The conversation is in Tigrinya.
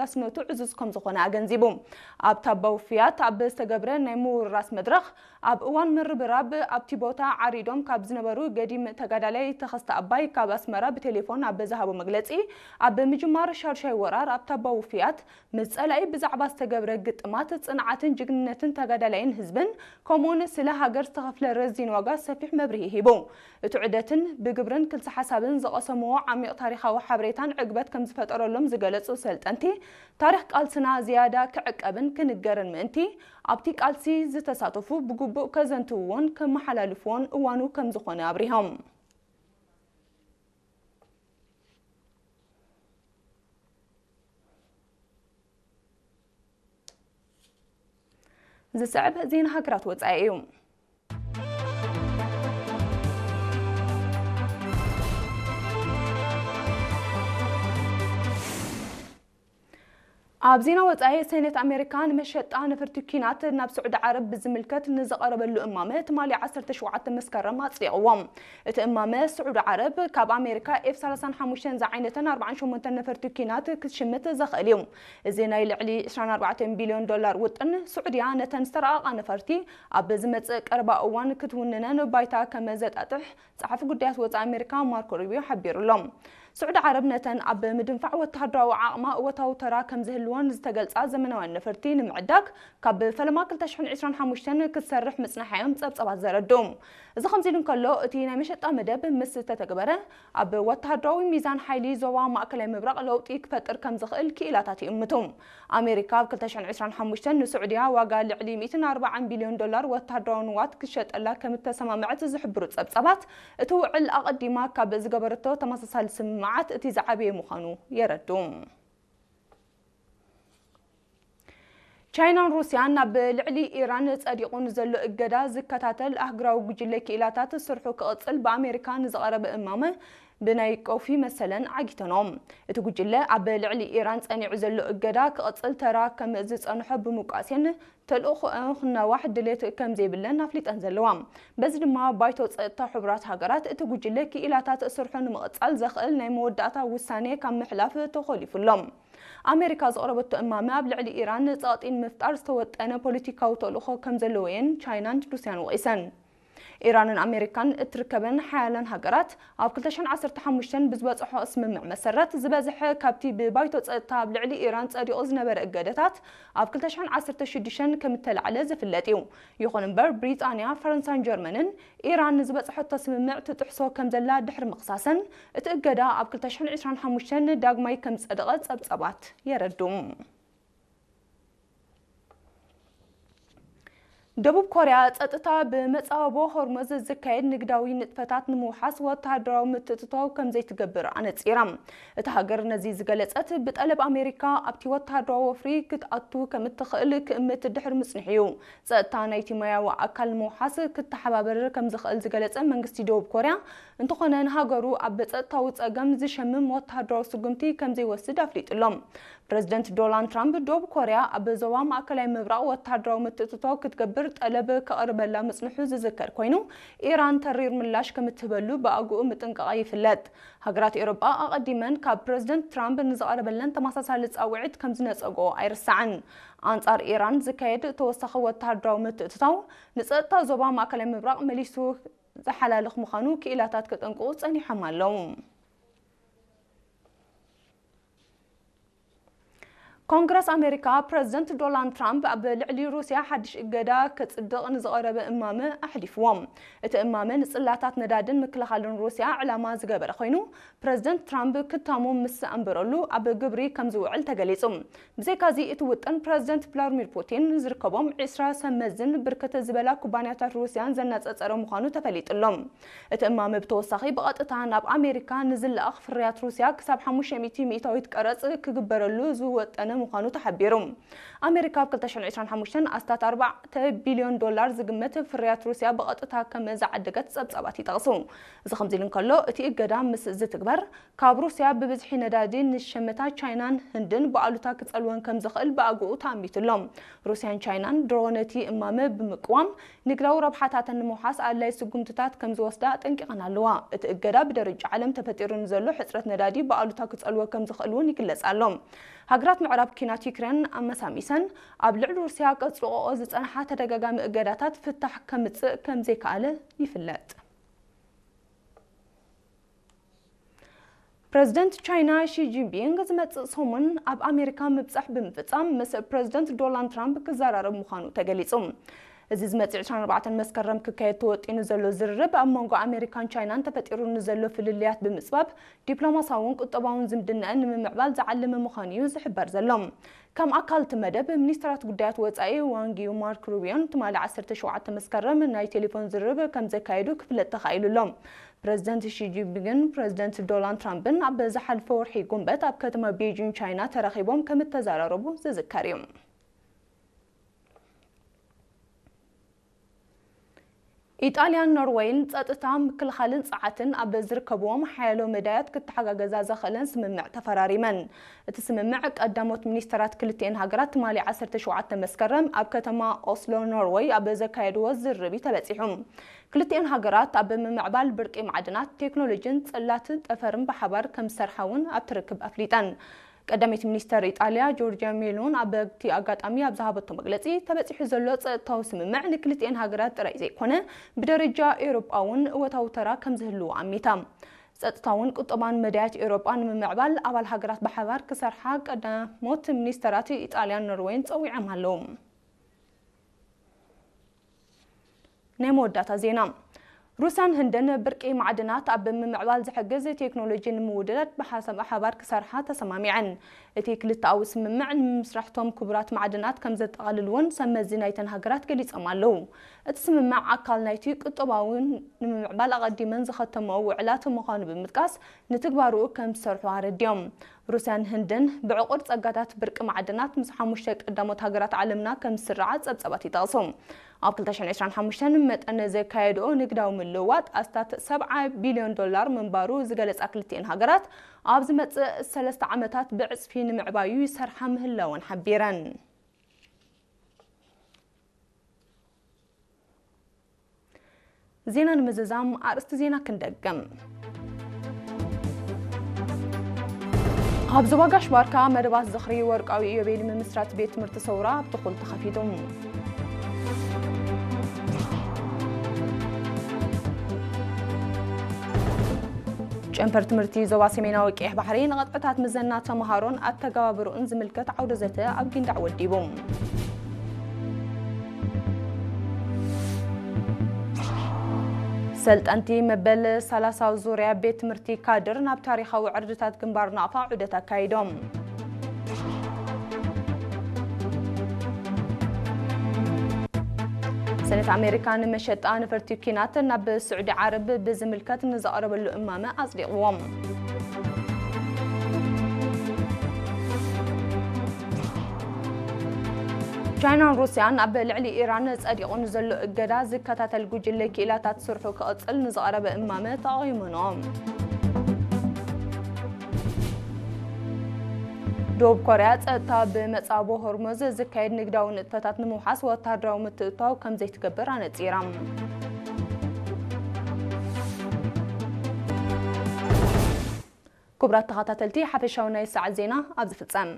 ኣስነቱ ዕዙዝ ከም ዝኾነ ኣገንዚቡ። ኣብ ታባ ውፍያት ኣብ ዝተገብረ ናይ ምውርራስ መድረኽ፣ ኣብ እዋን ምርብራብ ኣብቲ ቦታ ዓሪዶም ካብ ዝነበሩ ገዲም ተጋዳላይ ተኸስተ ኣባይ ካብ ኣስመራ ብቴሌፎን ኣብ ዝሃቦ መግለጺ፣ ኣብ ምጅማር ሻድሻይ ወራር ኣብ ታባ ውፍያት ምስ ጸላኢ ብዛዕባ ዝተገብረ ግጥማት ጽንዓትን ጅግንነትን ተጋዳላይን ህዝብን፣ ከምኡውን ስለ ሃገር ዝተኸፍለ ረዚን ዋጋ ሰፊሕ መብርሂ ሂቡ። እቲ ዑደትን ብግብርን ክልተ ሓሳብን ዝቐሰምዎ ዓሚቕ ታሪኻዊ ሓበሬታን ዕግበት ከም ዝፈጠረሎም ዝገለጹ ሰልጠንቲ፣ ታሪኽ ቃልስና ዝያዳ ክዕቀብን ክንገርን ምእንቲ፣ ኣብቲ ቃልሲ ዝተሳተፉ ብግቡእ ከዘንትውዎን ከመሓላልፍዎን እዋኑ ከም ዝኾነ ኣብሪሆም። ዝስዕብ ዜና ሃገራት ወጻኢ እዩ። ኣብ ዜና ወጻኢ፣ ሰኔት ኣሜሪካ ንመሸጣ ነፈርቲ ኲናት ናብ ስዑዲ ዓረብ ብዝምልከት ንዝቐረበሉ እማመ ትማሊ ዓሰርተ ሸውዓተ መስከረም ኣጽዲቕዎ። እቲ እማመ፣ ስዑዲ ዓረብ ካብ ኣሜሪካ ኤፍ ሰላሳን ሓሙሽተን ዝዓይነተን ኣርባዓን ሸሞንተን ነፈርቲ ኲናት ክትሽምት ዘኽእል እዩ። እዚ ናይ ልዕሊ ዕስራን ኣርባዕተን ቢልዮን ዶላር ውጥን፣ ስዑድያ ነተን ዝተረቐቓ ነፈርቲ ኣብ ዝመጽእ ቀረባ እዋን ክትውንነን ባይታ ከም ዘጣጥሕ ጸሓፊ ጉዳያት ወጻኢ ኣሜሪካ ማርኮ ሩቢዮ ሓቢሩ ኣሎ። ስዑዲ ዓረብ ነተን ኣብ ምድንፋዕ ወተሃደራዊ ዓቕማ እወታዊ ተራ ከም ዝህልወን ዝተገልጻ ዘመናውያን ነፈርቲ ንምዕዳግ ካብ ፈለማ ክልተ ሽሕን ዕስራን ሓሙሽተን ክትሰርሕ ምጽናሓ እዮም ጸብጸባት ዘረድኡ። እዚ ከምዚ ኢሉ እንከሎ፣ እቲ ናይ መሸጣ መደብ ምስ ተተግበረ፣ ኣብ ወተሃደራዊ ሚዛን ሓይሊ ዞባ ማእከላይ ምብራቕ ለውጢ ክፈጥር ከም ዝኽእል ክኢላታት ይእምቱ። ኣሜሪካ ኣብ ክልተ ሽሕን ዕስራን ሓሙሽተን ንስዑድያ ዋጋ ልዕሊ ሚእትን ኣርባዓን ቢልዮን ዶላር ወተሃደራዊ ንዋት ክትሸጠላ ከም እተሰማምዐት ዝሕብሩ ጸብጻባት፣ እቲ ውዕል ኣቐዲማ ካብ ዝገበረቶ ተመሳሳሊ ስምምዓት እቲ ዝዓበየ ምዃኑ የረድኡ። ቻይናን ሩስያን ኣብ ልዕሊ ኢራን ጸዲቑ ንዘሎ እገዳ ዝከታተል ኣህጉራዊ ጉጅለ ክኢላታት ስርሑ ክቕጽል ብኣሜሪካ ንዝቐረበ እማመ ብናይ ቀውፊ መሰለን ዓጊተንኦ። እቲ ጉጅለ ኣብ ልዕሊ ኢራን ጸኒዑ ዘሎ እገዳ ክቕጽል ተራ ከም ዝጸንሖ ብምውቃስየን ተልእኾ ክናዋሕ ድሌት ከም ዘይብለን ኣፍሊጠን ዘለዋ። በዚ ድማ ባይቶ ጸጥታ ሕቡራት ሃገራት እቲ ጉጅለ ክኢላታት ስርሑ ንምቕጻል ዘኽእል ናይ መወዳእታ ውሳኔ ካብ ምሕላፍ ተኾሊፉ ኣሎ። ኣሜሪካ ዘቕረበቶ እማመ ኣብ ልዕሊ ኢራን ጸቕጢ ንምፍጣር ዝተወጠነ ፖለቲካዊ ተልእኾ ከም ዘለዎ እየን ቻይናን ሩስያን ወቒሰን። ኢራንን ኣሜሪካን እትርከበን ሓያላን ሃገራት ኣብ ክልተ ሽሕን ዓሰርተ ሓሙሽተን ብዝበጽሖ ስምምዕ መሰረት ዝበዝሐ ካብቲ ብባይቶ ጸጥታ ኣብ ልዕሊ ኢራን ጸዲቑ ዝነበረ እገደታት ኣብ ክልተ ሽሕን ዓሰርተ ሽዱሽተን ከም እተላዕለ ዝፍለጥ እዩ። ይኹን እምበር ብሪጣንያ፣ ፈረንሳን ጀርመንን ኢራን ንዝበጽሐቶ ስምምዕ ትጥሕሶ ከም ዘላ ድሕሪ ምኽሳሰን እቲ እገዳ ኣብ ክልተ ሽሕን ዕስራን ሓሙሽተን ዳግማይ ከም ዝጸደቐ ጸብጸባት የረድኡ። ደቡብ ኮርያ ጸጥታ ብመጻወቦ ሆርሙዝ ዝካየድ ንግዳዊ ንጥፈታት ንምውሓስ ወተሃደራዊ ምትእትታው ከም ዘይትገብር ኣነጺራ። እታ ሃገር ነዚ ዝገለጸት ብጠለብ ኣሜሪካ ኣብቲ ወተሃደራዊ ወፍሪ ክትኣቱ ከም እትኽእል ክእምት ድሕሪ ምጽንሑ እዩ። ጸጥታ ናይቲ ማያዊ ኣካል ንምውሓስ ክተሓባበር ከም ዝኽእል ዝገለጸ መንግስቲ ደቡብ ኮርያ፣ እንተኾነ ንሃገሩ ኣብ ጸጥታዊ ጸገም ዝሸምም ወተሃደራዊ ስጉምቲ ከም ዘይወስድ ኣፍሊጡ ኣሎ። ፕረዚደንት ዶናልድ ትራምፕ፣ ደቡብ ኮርያ ኣብ ዞባ ማእከላይ ምብራቕ ወተሃደራዊ ምትእትታው ክትገብር ጠለብ ከቕርበላ ምጽንሑ ዝዝከር ኮይኑ፣ ኢራን ተሪር ምላሽ ከም እትህበሉ ብኣግኡ ምጥንቃቓ ይፍለጥ። ሃገራት ኤውሮጳ ኣቐዲመን ካብ ፕረዚደንት ትራምፕ ንዝቐረበለን ተመሳሳሊ ጻውዒት ከም ዝነጸግኦ ኣይርሳዕን። ኣንጻር ኢራን ዝካየድ ተወሳኺ ወተሃደራዊ ምትእትታው ንጸጥታ ዞባ ማእከላይ ምብራቕ መሊሱ ዝሓላልኽ ምዃኑ ክኢላታት ከጠንቅቑ ጸኒሖም ኣለዉ። ኮንግረስ ኣሜሪካ፣ ፕረዚደንት ዶናልድ ትራምፕ ኣብ ልዕሊ ሩስያ ሓድሽ እገዳ ከጽድቕ ንዝቐረበ እማመ ኣሕሊፍዎ። እቲ እማመ ንጽላታት ነዳድን ምክልኻልን ሩስያ ዕላማ ዝገበረ ኮይኑ፣ ፕረዚደንት ትራምፕ ክታሙ ምስ ኣንበረሉ ኣብ ግብሪ ከም ዝውዕል ተገሊጹ። ብዘይካዚ፣ እቲ ውጥን ፕረዚደንት ቭላድሚር ፑቲን ዝርከቦም ዕስራ ሰብ መዝን ብርክት ዝበላ ኩባንያታት ሩስያን ዘነጻጸረ ምዃኑ ተፈሊጡ ኣሎ። እቲ እማመ ብተወሳኺ ብቐጥታ ናብ ኣሜሪካ ንዝለኣኽ ፍርያት ሩስያ ክሳብ ሓሙሽተ ሚእቲ ሚእታዊት ቀረጽ ክግበረሉ ዝወጠነ ምዃኑ ተሓቢሩ። ኣሜሪካ ኣብ ክልተ ሽሕን ዕስራን ሓሙሽተን ኣስታት ኣርባዕተ ቢልዮን ዶላር ዝግመት ፍርያት ሩስያ ብቐጥታ ከም ዝዓደገት ጸብጻባት ይጠቕሱ። እዚ ከምዚ ኢሉ እንከሎ፣ እቲ እገዳ ምስ ዝትግበር፣ ካብ ሩስያ ብብዝሒ ነዳዲ ንዝሸመታ ቻይናን ህንድን ብኣሉታ ክጸልወን ከም ዝኽእል ብኣግኡ ተኣሚቱ ኣሎ። ሩስያን ቻይናን ድሮ ነቲ እማመ ብምቅዋም፣ ንግዳዊ ረብሓታተን ንምውሓስ ኣድላዪ ስጉምትታት ከም ዝወስዳ ኣጠንቂቐን ኣለዋ። እቲ እገዳ ብደረጃ ዓለም ተፈጢሩ ንዘሎ ሕጽረት ነዳዲ ብኣሉታ ክጸልዎ ከም ዝኽእል እውን ይግለጽ ኣሎ። ሃገራት ምዕራብ ኲናት ዩክሬን ኣመሳሚሰን፣ ኣብ ልዕሊ ሩስያ ቀጽልኦ ዝጸንሓ ተደጋጋሚ እገዳታት ፍታሕ ከምጽእ ከም ዘይከኣለ ይፍለጥ። ፕረዚደንት ቻይና ሺ ጂንፒንግ ዝመጽእ ሰሙን ኣብ ኣሜሪካ ምብጻሕ ብምፍጻም ምስ ፕረዚደንት ዶናልድ ትራምፕ ክዘራረብ ምዃኑ ተገሊጹ። እዚ ዝመጽእ ዕስራን ኣርባዕተን መስከረም ክካየድ ተወጢኑ ዘሎ ዝርርብ ኣብ መንጎ ኣሜሪካን ቻይናን ተፈጢሩ ንዘሎ ፍልልያት ብምጽባብ ዲፕሎማሳውን ቁጠባውን ዝምድናኣን ንምምዕባል ዝዓለመ ምዃኑ እዩ ዝሕበር ዘሎ። ከም ኣካል እቲ መደብ፣ ሚኒስትራት ጉዳያት ወጻኢ ዋንግ ዪ፣ ማርክ ሩቢዮን ትማሊ ዓሰርተ ሸውዓተ መስከረም ናይ ቴሌፎን ዝርርብ ከም ዘካየዱ ክፍለጥ ተኻኢሉ ኣሎ። ፕረዚደንት ሺ ጂንፒንግን ፕረዚደንት ዶናልድ ትራምፕን ኣብ ዝሓለፈ ወርሒ ጉንበት ኣብ ከተማ ቤጂንግ ቻይና ተራኺቦም ከም እተዘራረቡ ዝዝከር እዩ። ኢጣልያን ኖርወይን ጸጥታ፣ ምክልኻልን ጸዓትን ኣብ ዝርከብዎም ሓያሎ መዳያት ክተሓጋገዛ ዘኽእለን ስምምዕ ተፈራሪመን። እቲ ስምምዕ ቀዳሞት ሚኒስተራት ክልቲኤን ሃገራት ትማሊ ዓሰርተ ሸውዓተ መስከረም ኣብ ከተማ ኦስሎ ኖርወይ ኣብ ዘካየድዎ ዝርርብ እዩ ተበጺሑ። ክልቲኤን ሃገራት ኣብ ምምዕባል ብርቂ ማዕድናት፣ ቴክኖሎጂን ጽላት ጠፈርን ብሓባር ከም ዝሰርሓ እውን ኣብቲ ርክብ ኣፍሊጠን። ቀዳመይቲ ሚኒስተር ኢጣልያ ጆርጂያ ሜሎን ኣብቲ ኣጋጣሚ ኣብ ዝሃበቶ መግለጺ፣ ተበጺሑ ዘሎ ጸጥታዊ ስምምዕ ንክልቲኤን ሃገራት ጥራይ ዘይኮነ፣ ብደረጃ ኤውሮጳ እውን እወታዊ ተራ ከም ዝህልዎ ኣሚታ። ጸጥታውን ቁጠባን መዳያት ኤውሮጳ ንምምዕባል ኣባል ሃገራት ብሓባር ክሰርሓ ቀዳሞት ሚኒስተራት ኢጣልያን ኖርወይን ጸዊዖም ኣለዉ። ናይ መወዳእታ ዜና። ሩስያን ህንድን ብርቂ ማዕድናት ኣብ ምምዕባል ዝሕግዝ ቴክኖሎጂ ንምውድዳድ ብሓሳብ ሓባር ክሰርሓ ተሰማሚዐን። እቲ ክልተኣዊ ስምምዕ ንምስራሕቶም ክቡራት ማዕድናት ከም ዘጠቓልል እውን ሰብ መዚ ናይተን ሃገራት ገሊጾም ኣለዉ። እቲ ስምምዕ ኣካል ናይቲ ቁጠባዊ ንምምዕባል ኣቐዲመን ዝኸተመኦ ውዕላት ምዃኑ ብምጥቃስ፣ ንትግባርኡ ከም ዝሰርሑ ኣረዲኦም። ሩስያን ህንድን ብዕቑር ጸጋታት ብርቂ ማዕድናት ምስ ሓሙሽተ ቀዳሞት ሃገራት ዓለምና ከም ዝስርዓ ጸብጻባት ይጠቕሱ። ኣብ ክልተ ሽሕን ዕስራን ሓሙሽተን መጠን ዘካየድኦ ንግዳዊ ምልውዋጥ ኣስታት ሰብዓ ቢልዮን ዶላር ምንባሩ ዝገለጻ ክልቲኤን ሃገራት፣ ኣብ ዝመጽእ ሰለስተ ዓመታት ብዕጽፊ ንምዕባዩ ይሰርሓ ምህላወን ሓቢረን። ዜና ንምዝዛም ኣርእስቲ ዜና ክንደግም። ኣብ ዞባ ጋሽ ባርካ መደባት ዝኽሪ ወርቃዊ ኢዮቤል ምምስራት ቤት ትምህርቲ ሰውራ ኣብ ትኹል ተኸፊቱ። ጨንፈር ትምህርቲ ዞባ ሰሜናዊ ቀይሕ ባሕሪ ንቐጥዕታት ምዘና ተምሃሮን ኣተገባብርኡን ዝምልከት ዓውደ ዘተ ኣብ ጊንዳዕ ወዲቡ። ሰልጠንቲ መበል ሰላሳዊ ዙርያ ቤት ትምህርቲ ካድር ናብ ታሪኻዊ ዕርድታት ግንባር ናቕፋ ዑደት ኣካይዶም። ሰነት ኣሜሪካ ንመሸጣ ነፈርቲ ኲናት ናብ ስዑዲ ዓረብ ብዝምልከት ንዘቕረበሉ እማመ ኣጽዲቕዎም። ቻይናን ሩስያን ኣብ ልዕሊ ኢራን ጸዲቑ ንዘሎ እገዳ ዝከታተል ጉጅለ ክኢላታት ስርሑ ክቕጽል ንዝቐረበ እማመ ተቓዊመንኦ። ደቡብ ኮርያ ጸጥታ ብመጻቦ ሆርሙዝ ዝካየድ ንግዳዊ ንጥፈታት ንምውሓስ ወታደራዊ ምትእትታው ከም ዘይትገብር ኣነጺራ። ክቡራት ተኸታተልቲ፣ ሓፈሻዊ ናይ ሰዓት ዜና ኣብዚ ፍጸም።